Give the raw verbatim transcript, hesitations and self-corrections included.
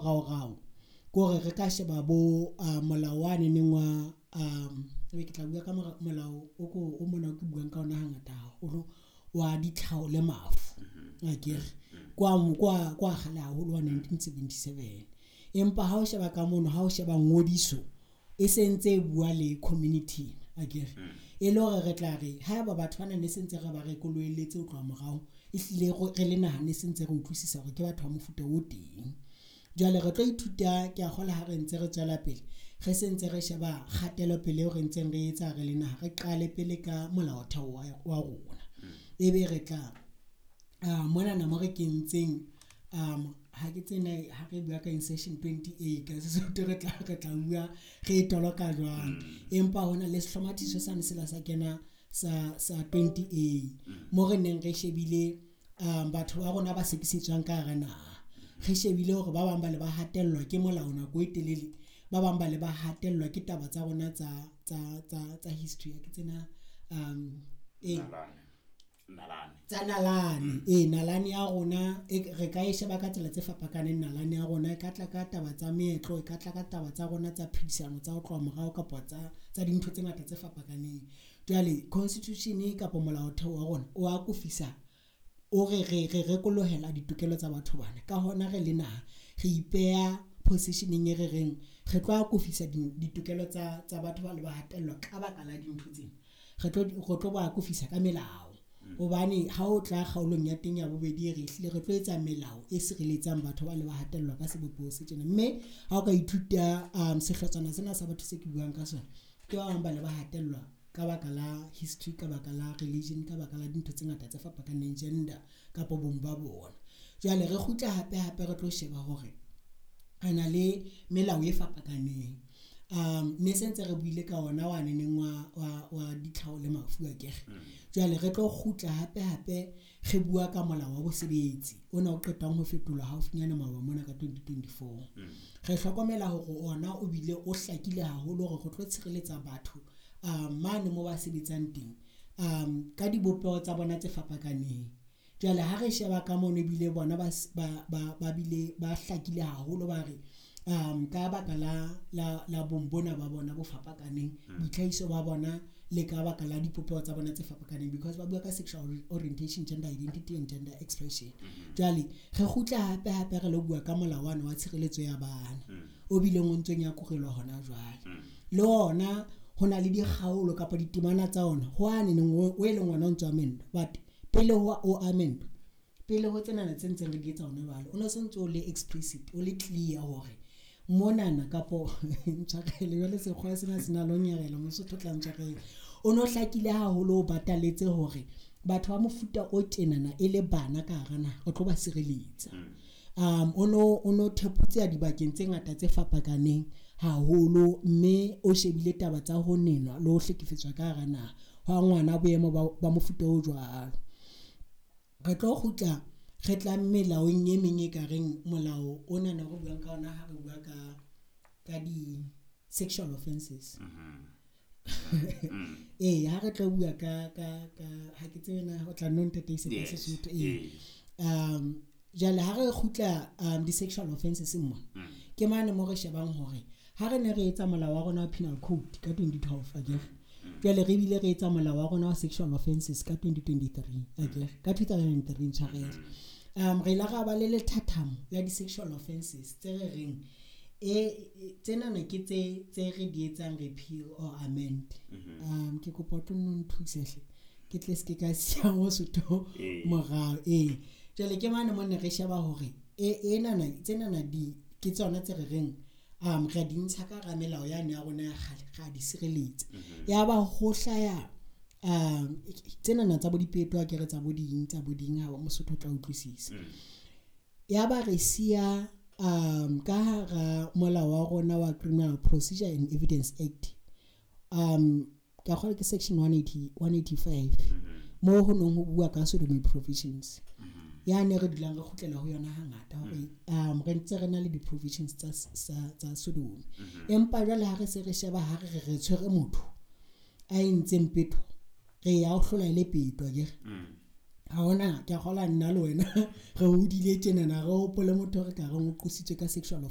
Raorao ke hore re ka sheba bo uh, molao wa neneng wa um ebe ke tla bua ka molao o ko o mona o ke buang ka ona hangata haholo wa ditlhaho le mafu, akere kwa kwa kwa kgale haholo wa nineteen seventy-seven. Empa ha o sheba ka mono, ha o sheba ngodiso e sentse e bua le community, akere e le hore re tla re haeba batho bana ne sentse re ba rekololletse ho tloha morao, ehlile re le naha ne sentse re utlwisisa hore ke batho ba mofuta o teng. Jwale re tlo ithuta, ke a kgolwa ha re ntse re tswela pele re sentse re sheba kgatelopele eo re ntseng re etsa re le naha, re qale pele ka molaotheo wa rona. Ebe re tla monana mo re kentseng um ha ke tsena ha re bua ka insertion twenty-eight ka Sesotho re tla re tla bua re toloka jwang, empa hona le sehlomathiso sane sela sa kena sa sa twenty-eight mo re neng re shebile um batho ba rona ba sekisetswang ka hara naha. Re shebile hore ba bang ba le ba hatellwa ke molao nako e telele, ba bang ba le ba hatellwa ke taba tsa rona tsa tsa tsa tsa history ke tsena um e nalane tsa nalane e nalane ya rona re ka e sheba ka tsela tse fapakaneng. Nalane ya rona e ka tla ka taba tsa meetlo, e ka tla ka taba tsa rona tsa phedisano tsa ho tloha morao kapa tsa tsa dintho tse ngata tse fapakaneng. Jwale constitution kapa molaotheo wa rona o akofisa o re re re rekolohela ditokelo tsa batho bana. Ka hona re le naha re ipeha positioneng e re reng re tlo akofisa ditokelo tsa tsa batho ba le ba hatellwa ka baka la dintho tsena. Re tlo re tlo ba akofisa ka melao, hobane ha o tla kgaolong ya teng ya bobedi re hlile re tlo etsa melao e sireletsang batho ba le ba hatellwa ka sebopeho se tjena. Mme ha o ka ithuta um sehlotshwana sena sa batho se ke buang ka sona, ke ba bang ba le ba hatellwa ka baka la history, ka baka la religion, ka baka la dintho tse ngata tse fapakaneng, gender kapa bong ba bona. Jwale re kgutla hape hape re tlo sheba hore re na le melao e fapakaneng. Um ne sentse re buile ka ona wa neneng wa wa wa ditlhaho le mafu akere. Jwale re tlo kgutla hape hape re bua ka molao wa bosebetsi ona o qetang ho fetolwa haufinyane maoba mona ka twenty twenty-four. Re hlokomela hore ona o bile o hlakile haholo hore re tlo tshireletsa batho um mane mo ba sebetsang teng um ka dibopeho tsa bona tse fapakaneng. Jwale ha re sheba ka mono ebile bona ba ba ba bile ba hlakile haholo ba re um ka baka la la la bong bona ba bona bo fapakaneng, boitlhahiso ba bona le ka baka la dipopeho tsa bona tse fapakaneng, because ba bua ka sexual orientation, gender identity and gender expression. Jwale re kgutla hape hape re lo bua ka molao wa wa tshireletso ya bana o bileng o ntsong ya kurelwa hona jwale. Le ona ho na le dikgaolo kapa ditemana tsa ona ho ane neng o e leng ona o ntso amendwa, but pele ho o amendwa, pele ho tsenana tse ntseng re di etsa hona jwale, o no se ntse o le explicit, o le clear hore monana kapo ntshwarele jwale sekgowa sena se na le ho nyarela, Mosotho o tla ntshwarela. O no hlakile haholo o bataletse hore batho ba mofuta o tjenana e le bana ka hara naha o tlo ba sireletsa. Um o no o no theputse dibakeng tse ngata tse fapakaneng haholo, mme o shebile taba tsa ho nenwa le ho hlekefetswa ka hara naha hwa ngwana boemo ba mofuta o jwalo. Re tlo kgutla re tla melaong e meng e ka reng molao ona ne re buang ka ona ha re bua ka ka di sexual offenses. Eh ha re tlo bua ka ka ka ha ke tsebe na o tla nno ntataise ka Sesotho. Eh um jwale ha re kgutla um di sexual offenses mo ke mane mo re shebang hore ha re ne re etsa molao wa rona wa penal code ka twenty twelve akere, jwale re bile re etsa molao wa rona wa sexual offenses ka twenty twenty-three akere, ka two thousand three ntshwarele. Um re ile ra ba le lethathamo la di sexual offenses tse re reng e tsenana ke tse tse re di etsang repeal or amend. Um ke kopa o tlo nno nthuse hle ke tle se ke ka siya Mosotho morao. Eh jwale ke mane mo ne re sheba hore e enana tsenana di ke tsona tse re reng um re di ntsha ka hara melao yane ya rona ya kgale, ra di sireletsa. Ya ba ho hlaya um tsenana tsa bo dipeto akere tsa bo ding tsa bo ding ha Mosotho o tla utlwisisa. Ya ba re siya um ka hara molao wa rona wa Criminal Procedure and Evidence Act um ka kgolwa ke section one eighty, one eighty-five mo ho nong ho bua ka sodomy provisions. Ya ne re dulang re kgutlela ho yona hangata hore um re ntse re na le di provisions tsa tsa sodomy. Empa jwale ha re se re sheba ha re re re tshwere motho a entseng peto, re ya o hlola ile peto akere. Ha hona ke a kgolwa nna le wena re hodile tjenana re hopole motho re ka reng o qositswe ka sexual offense.